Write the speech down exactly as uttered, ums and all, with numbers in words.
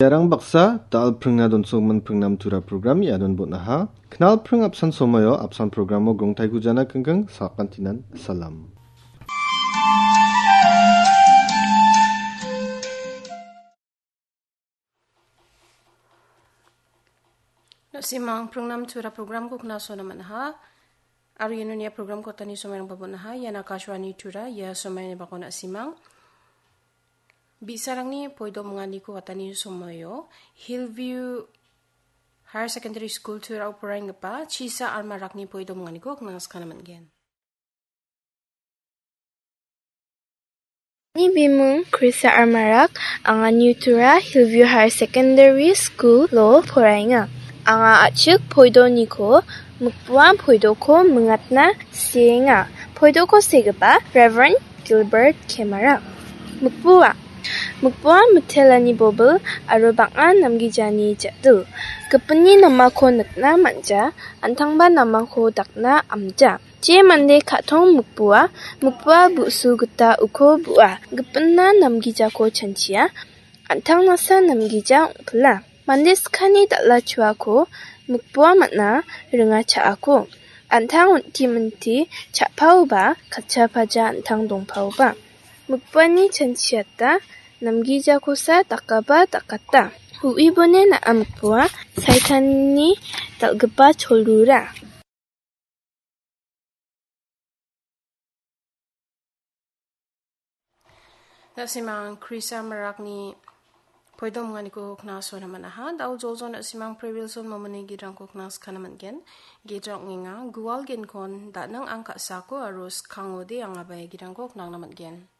Iarang baksa dal pringna donsokman pringnam tura program iadon bon·aha. Knal pring apsan somoio apsan programo grongtaiko jana kengkeng sakantinan salam. Na·simang pringnam tura programko knasona man·aha. Aro iano nia programko atani somairangba bon·aha. Ian Akashvani Tura, ia somaini bako na·simang. Bi·sarangni poidomonganiko atani somoio Hillview Higher Secondary School Turao poraenggipa Chisa Armarakni poidomonganiko knasakana man·gen. Ani bimung Krisa Armarak, anga New Tura Hillview Higher Secondary School-o poraenga. Anga a·chik poidoniko mikbua poidoko mingatna sienga. Poidoko segipa Reverend Gilbert Kemarak. Mikbua. Mikbua mitelani bobil aro bang·a namgijani ja·dil. Gipinni namako nikna man·ja, an·tangba namako dakna amja. Je mande ka·tong mikbua, mikbua bu·su gita uko bu·a. Gipinna namgijako chanchia, an·tangnasa namgija ong·pila. Mande skani dal·a chuako mikbua man·a ringa cha·ako. An·tang on·ti minti cha·paoba katcha paja an·tang dongpaoba. Mikbuani chanchiata namgijakosa dakaba dakata. Hu·ibone na·a mikbua Saitanni dal·gipa cholrura. Na·simang Krisa Marakni poidomonganiko knasona man·aha. Dao jojo na·simang Pre Wilson Momoni gidrangko knaskana man·gen. Gidra ong·enga, Gual Genkon, Da·nang Ang Ka·sako aro Skangode Ang Abae gidrangko knangna man·gen.